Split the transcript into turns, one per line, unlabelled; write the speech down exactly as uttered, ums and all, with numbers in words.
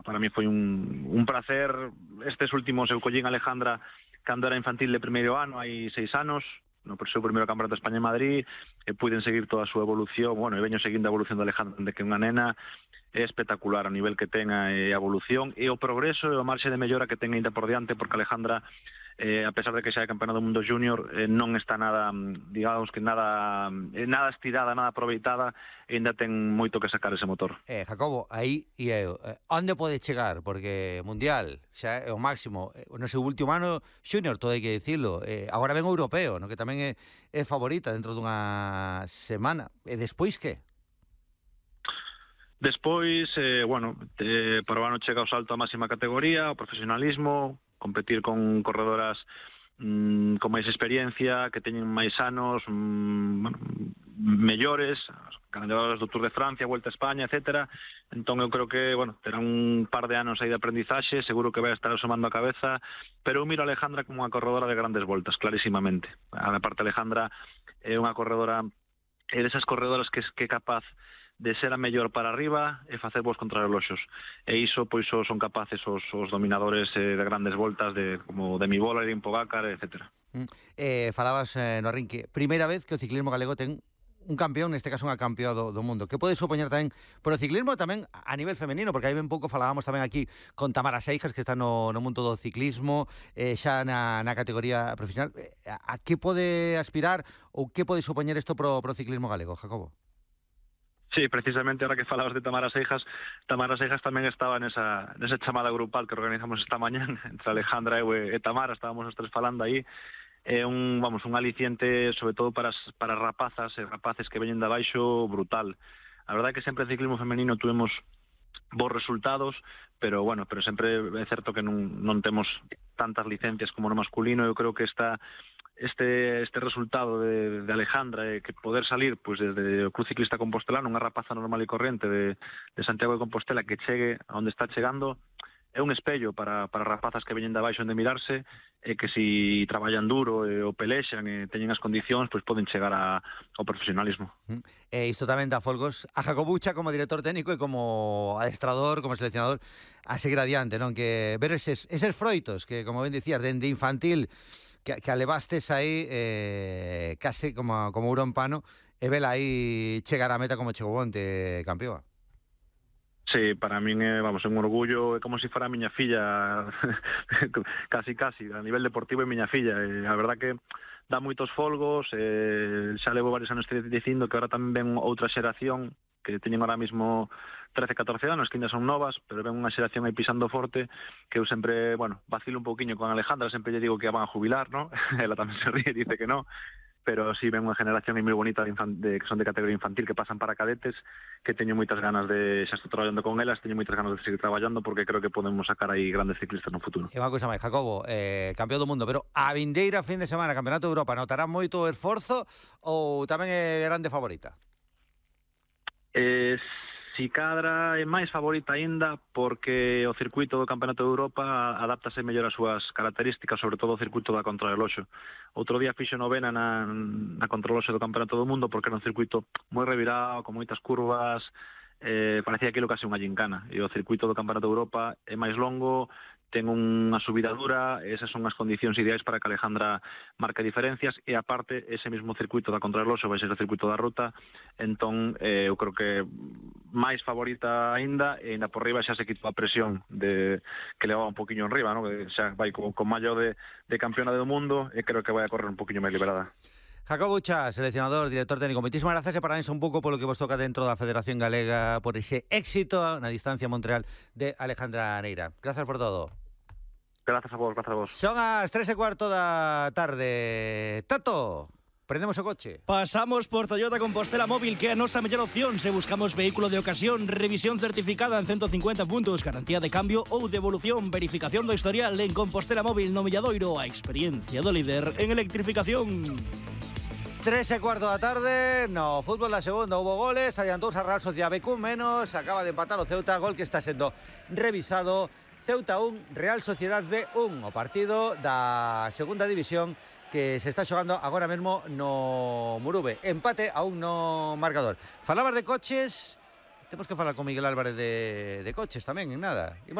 para mí foi un, un placer. Estes últimos eu collín Alejandra cando era infantil de primeiro ano, hai seis anos, no seu primeiro campeonato de España en Madrid, e puiden seguir toda a súa evolución. Bueno, e veño seguindo a evolución de Alejandra, de que unha nena é espectacular a nivel que ten a evolución e o progreso e o marxe de mellora que ten ainda por diante, porque Alejandra, eh, a pesar de que xa é campeona do mundo junior, eh, non está nada, digamos que nada eh, nada estirada, nada aproveitada, e ainda ten moito que sacar ese motor.
Eh, Jacobo, aí e eu, eh, onde pode chegar? Porque Mundial xa é o máximo, eh, no seu último ano junior, todo hai que dicilo, eh, agora ven o europeo, no que tamén é, é favorita dentro dunha semana, e despois que?
Despois, eh, bueno, eh, para o ano chega o salto a máxima categoría, o profesionalismo, competir con corredoras mm, con máis experiencia, que teñen máis anos, mm, bueno, mellores, ganadoras do Tour de Francia, Vuelta a España, etcétera. Entón eu creo que, bueno, terá un par de anos aí de aprendizaxe, seguro que vai estar asomando a cabeza, pero eu miro a Alejandra como unha corredora de grandes voltas, clarísimamente. A parte Alejandra é unha corredora, é desas corredoras que, que é capaz de ser a mellor para arriba e facer vos contrarreloxos. E iso, pois, son capaces os, os dominadores eh, de grandes voltas, de como Demi Vollering, Pogacar, etcétera.
Mm. Eh, falabas eh, no arrinque, primeira vez que o ciclismo galego ten un campeón, neste caso unha campeón do, do mundo. Que pode supoñer tamén por o ciclismo tamén a nivel femenino, porque aí ben pouco falábamos tamén aquí con Tamara Seijas, que está no, no mundo do ciclismo, eh, xa na, na categoría profesional. A, a que pode aspirar ou que pode supoñer isto pro, pro ciclismo galego, Jacobo?
Sí, precisamente, ahora que falabas de Tamara Seijas, Tamara Seijas tamén estaba nesa, nesa chamada grupal que organizamos esta mañán entre Alejandra eu e, e Tamara, estábamos os tres falando aí. É un, vamos, un aliciente, sobre todo para as, para rapazas e rapaces que veñen de abaixo, brutal. A verdade é que sempre en ciclismo femenino tuvemos bons resultados, pero bueno, pero sempre é certo que non, non temos tantas licencias como no masculino. Eu creo que esta este este resultado de, de Alejandra, eh, que poder salir pues, desde o Club Ciclista Compostelano, unha rapaza normal e corrente de, de Santiago de Compostela, que chegue a onde está chegando, é un espello para, para rapazas que veñen de abaixo onde mirarse, e que si traballan duro e o pelexan e teñen as condicións, pois poden chegar a, ao profesionalismo.
Mm. E isto tamén dá folgos a Jacobucha como director técnico e como adestrador, como seleccionador, a seguir adiante, non? Que ver eses, eses froitos que, como ben dicías, dende infantil que, que alevastes aí eh, case como, como ouro en pano, e vela aí chegar a meta como chegou onte, campeón.
Sí, para min é, vamos, un orgullo, é como se si fora a miña filla, casi, casi, a nivel deportivo é miña filla, e a verdad que dá moitos folgos, e xa levo varios anos dicindo que ahora tamén ven outra xeración, que teñen ahora mismo trece, catorce anos, que ainda son novas, pero ven unha xeración aí pisando forte, que eu sempre, bueno, vacilo un pouquiño con Alejandra, sempre lle digo que a van a jubilar, ¿no? Ela tamén se ríe e dice que no, pero sí ven unha generación moi bonita de, de, que son de categoría infantil, que pasan para cadetes, que teño moitas ganas de, xa estou traballando con elas, teño moitas ganas de seguir traballando, porque creo que podemos sacar aí grandes ciclistas no futuro.
E unha cousa máis, Jacobo, eh, campeón do mundo, pero a vindeira fin de semana, Campeonato de Europa, notará moito o esforzo ou tamén é grande favorita?
Eh, si cadra é máis favorita aínda, porque o circuito do Campeonato de Europa adáptase mellor ás súas características, sobre todo o circuito da contrarreloxo. Outro día fixo novena na, na contrarreloxo do Campeonato do Mundo, porque era un circuito moi revirado, con moitas curvas, eh, parecía aquilo case unha gincana. E o circuito do Campeonato de Europa é máis longo, ten unha subida dura, esas son as condicións ideais para que Alejandra marque diferencias, e aparte ese mesmo circuito da contrarreloxo vai ser o circuito da ruta, entón eh, eu creo que máis favorita aínda, e aínda por riba xa se quitou a presión de que levaba un poquinho en riba, ¿no? Que xa vai con, con mallo de, de campeona do mundo, e creo que vai a correr un poquinho máis liberada.
Jacobo Ucha, seleccionador, director técnico, moitísimas gracias e parabéns un pouco polo que vos toca dentro da Federación Galega por ese éxito na distancia Montreal de Alejandra Neira. Gracias por todo.
Gracias a vos, gracias a vos.
Son as tres e cuarto da tarde. Tato, prendemos o coche.
Pasamos por Toyota Compostela Móvil, que é a nosa mellor opción se buscamos vehículo de ocasión, revisión certificada en ciento cincuenta puntos, garantía de cambio ou devolución, verificación do historial en Compostela Móvil no Milladoiro, a experiencia do líder en electrificación.
Tres e cuarto da tarde, no fútbol da segunda houve goles, adiantouse a Real Sociedad B con menos, acaba de empatar o Ceuta, gol que está sendo revisado. Ceuta un, Real Sociedad B un, o partido da segunda división que se está xogando agora mesmo no Murube. Empate a un no marcador. Falabas de coches, temos que falar con Miguel Álvarez de, de coches tamén, en nada.